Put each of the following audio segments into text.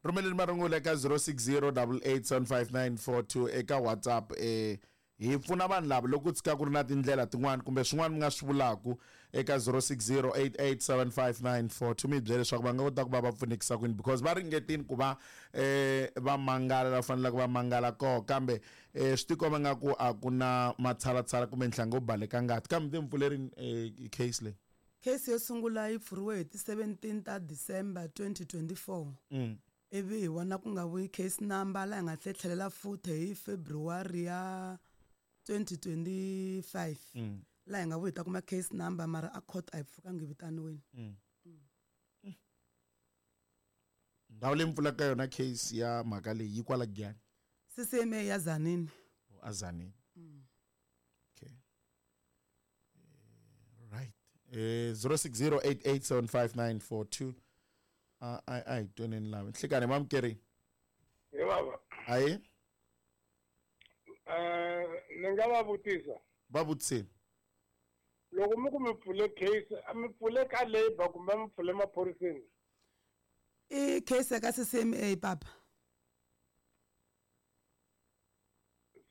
Rhumeleni marungula eka 0608875942 eka WhatsApp. Hi pfuna vanhu lava loko ku tshika ku ri na tindlela tin'wana kumbe swin'wana mi nga swi vulaku eka 0608875942, mi hi byela leswaku va nga kota ku va va pfunekisa kwini, because va ringetini ku va va mangala la faneleke va mangala koho, kambe swi tikomba nga ku a ku na matshalatshala kumbe nhlango wo baleka ngati. Kambe mi te mi pfulerini case leyi? Case yo sungula yi pfuriwe hi ti 17 ta December 2024. Ivi hi vona ku nga vuyi case number, laha hi nga tlhe tlhelela futhi hi February ya 2025. Laha hi nga vuyi hi ta kuma case number, mara a court a hi pfukangi vitaniwini. Ndhawu leyi mi pfulaka yona case ya mhaka leyi yi kwala Giyani? CCMA ya Tzaneen. Oh, a Tzaneen. Okay. Right. 0608875942. A hi tweneni lava. Nhlikani mamukeri. Hi baba. Ayi. Ni nga va vutisa. Va vutiseni. Loko mi ku mi pfule case, a mi pfule ka labor kumbe mi pfule maphoriseni? I case ya ka CCMA papa.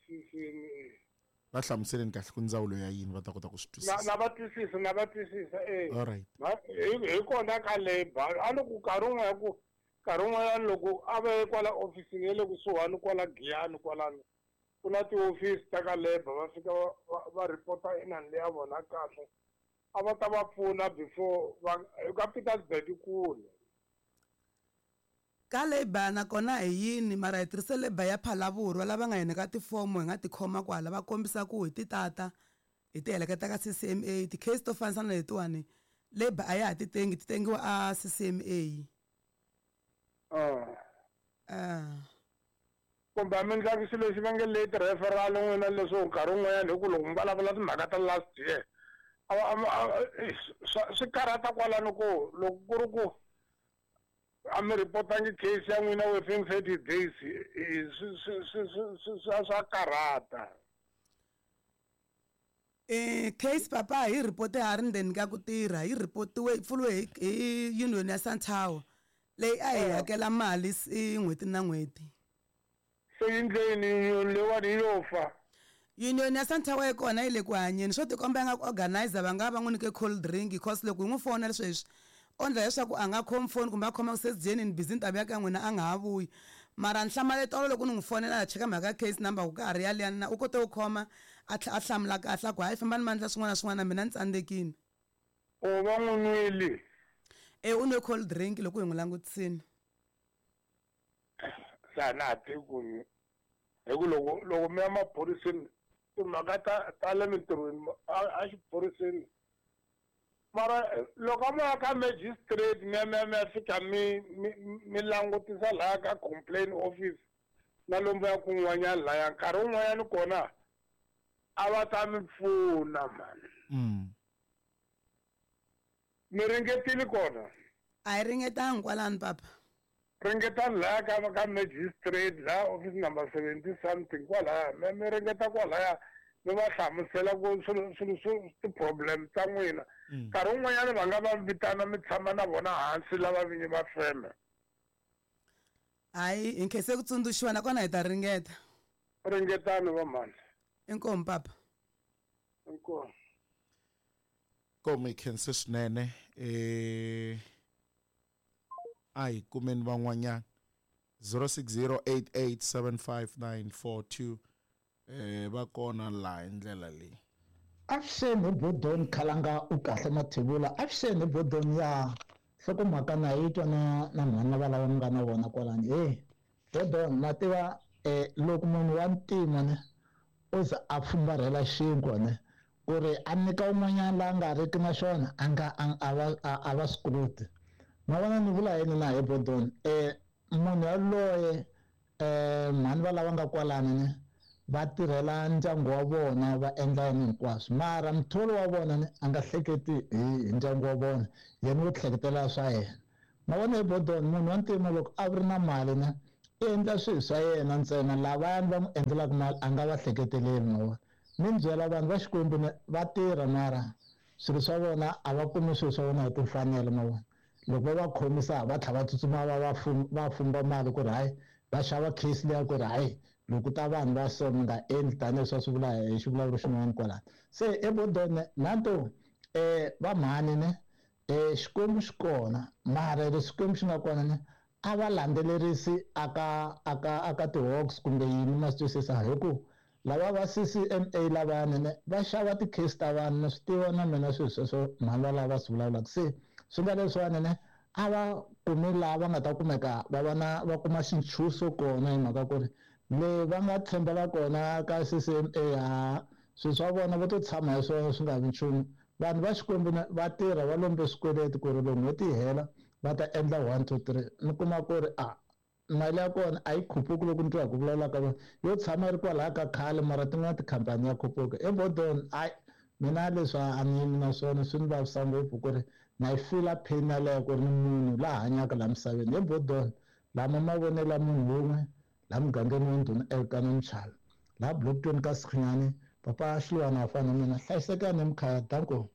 CCMA. Va hlamuseleni kahle ku ndzawulo ya yini va ta kota ku swi twisisa. Na va twisisa, na va twisisa, eh. All right. Hi kona ka labor, a loko nkarhi wun'wana ku nkarhi wun'wanyana loko a va ye kwala ofisini ya le kusuhani kwala Giyani kwalano, ku na tiofisi ta ka labor, va fika va report-a inani leya vona kahle. A va ta va pfuna before va ka Pietersburg kule. Ka labor nakona hi yini, mara hi tirhise labor ya Phalaborwa lava nga hi nyika tifomo hi nga ti khoma kwala, va kombisa ku hi ti tata hi ti heleketa ka CCMA. Ti-case to fanisa na letiwani labor a ya ha ti tengi, ti tengiwa a CCMA. Kumbe a mi endlaki xilo lexi va nge late referral n'wina, leswo nkarhi wun'wanyana hi ku loko mi vulavula timhaka ta last year, swi karhata kwalano ku loko ku ri ku a mi reportangi case ya n'wina within 30 days, swa karhata. Case papa hi report ha ri ndzeni ka ku tirha, hi reportiwe, yi pfuriwe hi union ya Santawa leyi a hi hakela mali n'hweti na n'hweti. Se yi ndleni union leyiwani yi yo fa? Union ya Santawa yi kona, yi le ku hanyeni. Swo tikomba nga ku organizer va nga va n'wi nyike cold drink, because loko hi n'wi fonela sweswi o ndla leswaku a nga khomi phone kumbe a khoma ku se dyeni ni busy ni ta vuya ka n'wina, a nga ha vuyi. Mara ni hlamale tolo loko ni n'wi fonela a cheka mhaka ya case number ku ka ha ri yaliyani na u kote ku khoma a a hlamula kahle a ku hayi fambani mandla swin'wana na swin'wana mina ni tsandzekile. O va n'wi nwile? E, u nwe cold drink loko hi n'wi langutisini. Se a na ha tivi ku hi ku loko mi ya maphoriseni timhaka ta le mintirhweni a xiphoriseni, mara loko a mo ya ka magistrate mi ya, mi ya, mi ya fika mi, mi, mi langutisa laya ka complaint office na lomu ya kun'wanyana laya, nkarhi wun'wanyana kona a va ta mi pfuna mani. Mi ringetile kona? A hi ringetanga kwalano papa. Ringetani laya ka magistrate laya office number 70 something kwalaya, mi ringeta kwalaya mi va hlamusela ku swilo swo ti-problem ta n'wina. Nkarhi wun'wanyana va nga va vitana mi tshama na vona hansi lava vinyi va feme. Hayi, hi nkhense ku tsundzuxiwa nakona hi ta ringeta. Ringetani va mhani. Inkomu papa. Inkomu. Inkomu, hi khense swinene. A hi kumeni van'wanyana. 0608875942. Va kona laha hi ndlela leyi. Avuxeni hi Bodoni Khalanga, u kahle Mathebula. Avuxeni hi Bodoni ya nhlokomhaka na yi twa na mhani va lava mi nga na vona kwalani. Hey, Bodoni, na tiva loko munhu wa ntima ne o za a fumbarhela xinkwa ne ku ri a nyika un'wanyana la nga riki na xona, a nga, a, a va, a, a va swi koti. Ma vona ni vula yini na hi Bodoni? Munhu yaloye, mhani va lava nga kwalani ne va tirhela ndyangu wa vona, va endla yini hinkwaswo, mara muthori wa vona ne a nga hleketi hi ndyangu wa vona, yena wo hleketela swa yena. Ma vona hi Bodoni, munhu wa ntima loko a ri na mali ne i endla swilo swa yena ntsena, lavayani va n'wi endlelaka mali a nga va hleketeleli. Ma vona, ni byela vanhu va Xikwembu ne va tirha, mara swilo swa vona a va kumi swilo swa vona hi timfanelo. Ma vona, Loko va va khomisa va tlhela va tsutsuma va va fumba mali ku ri hayi va xava case liya ku ri hayi loko ta vanhu va so mi nga endli tanihileswi va swi vula hi xivulavuro xin'wana kwalano. Se ebodone nanto va mhani ne Xikwembu xi kona, mara leswi Xikwembu xi nga kona ne a va landzelerisi aka aka aka ti-hawks kumbe yini, ma swi twisisa, hi ku lava va CCMA lavayani ne va xava ti-case ta vanhu. Ni swi tiva na mina swilo sweswo mhani valava va swi vulavulaka. Se swi nga leswiwani ne a va kumi laha va nga ta kumeka va va na va kuma xintshuso kona, hi mhaka ku ri le va nga tshembela kona ka CCMA, ha swilo swa vona va to tshama hi swona swi nga vi nchumu. Vanhu va Xikwembu va tirha va lombe swikweleti ku ri loko n'hweti yi hela va ta endla 1 2 3, ni kuma ku ri a mali ya kona a yi khuphuki. Loko ni twa hi ku vulavula ka vona yo tshama yi ri kwalaya ka khale, mara tin'wana tikhampani ya khuphuka. Ebodon hayi, mina leswi a ni yimi na swona, swi ni vavisa ngopfu ku ri na yi fila pain yaleyo ku ri ni munhu la hanyaka laha misaveni. Ebodon lama mavonelo ya munhu wun'we laha mugangeni wa Ndhuna Elkana Mchalo, laha Blockton ka Sikhinyani, papa Xiluwana wa fana na mina. Hlayisekani emikhaya, danko.